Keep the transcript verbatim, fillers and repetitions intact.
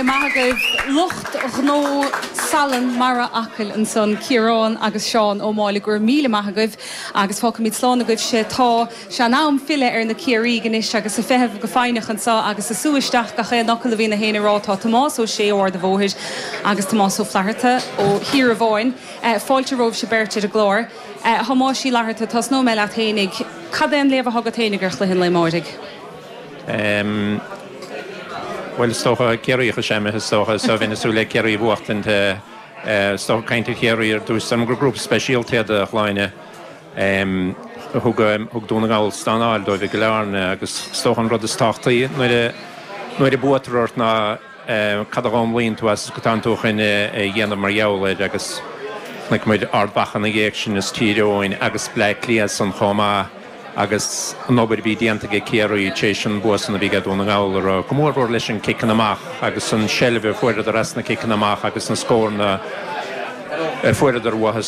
Maith agaibh lucht gnó salann mara Acaill ansan Ciarán agus Seán Ó Máille gur míle maith agaibh agus fágfaimid slán agaibh tá sé in am filleadh ar na Ciarraígh anois agus ag feitheamh go foighneach anseo agus ag sú isteach gach aon fhocal a bhí na héinne ag rá tá Tomás Ó Sé ó Ard an Bhóthair agus Tomás Ó Flatharta ó Thír Bháin. Fáilte romhaibh beirt ar an gclár. Thomáis Uí Fhlatharta tosnóidh mé leat fhéinig, Cad é an léamh atá agat fhéinig ar chluiche an lae amáirigh? Um, Well is dócha Ciarraí sem is dócha so bhí súil le Ciarraí buachtaint is dócha caint ar Chiarraí ar dtús gur grúpa speisialta a Shláine thug thug Dún na nGall stánáil dóibh go learna agus is dócha an rud is tábhachtaí nuair nuair a buaitear ort ná cad a fhoghlaimíonn tú as go tú chun a dhéanamh mar gheall air agus chonaic muid Ard Mhacha na dhiaidh sin is Tír Eoghain agus Bleá Cliath san chomh maith agus an obair bhí déanta ag Ciarraí tar éis an bua san a bhí Dún na nGall ar go mórmhór leis an ciceanna amach agus an seilbh a fuaireadar as na ciceanna amach agus na scóranna a fuaireadar uathu